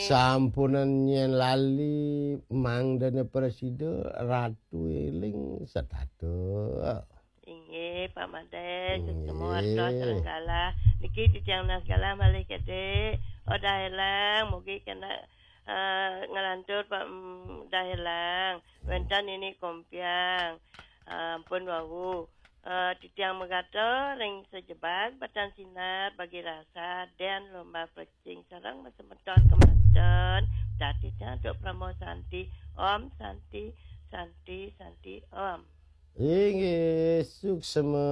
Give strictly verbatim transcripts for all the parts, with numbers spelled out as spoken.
Sampunan nyén lali, mangdané prasida, Ratu éling sedada. Inggih, Pak Madé, sesama warga Inggih. Sareng galah. Niki titiang Nas galah malih Gedé. Oh, Dahelang, mugi kena, eh, nglantur, Pak, mm, Dahelang. Wénten Nini Kompiang. Eh, ampun wau. Eh, titiang megata ring sajebag batan sinar bagi rasa dan lomba pecing sareng masemeton kemanten. Dadi jantuk Parama Santi. Om Santi, Santi, Santi, Om. Inggih, suksema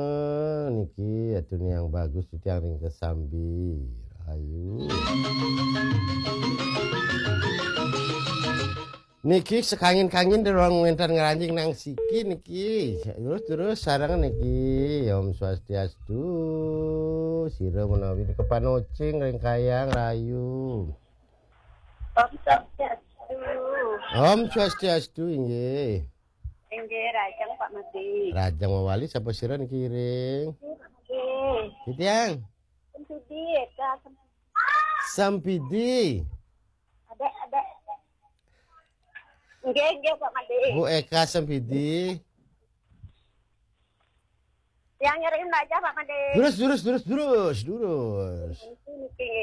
niki atune yang bagus titiang ring kesambi. Ayu. Niki sekangin-kangin derong wénten ngranjing nang siki niki. Terus-terus sareng niki. Om Swastiastu. Sira menawi niki panocing ring kayang rayu. Om Swastiastu. Om Swastiastu, inggih. Inggih, rajang Pak Mati. Rajang mawali sapa sira niki ring? Inggih. Titiang. Sempidi, Eka. Sempidi. Adek, adek. Nggih, nggih, Pak Made. Bu Eka Sempidi. Yang nyariin aja, Pak Made. Terus, terus, terus, terus, terus. Niki, niki.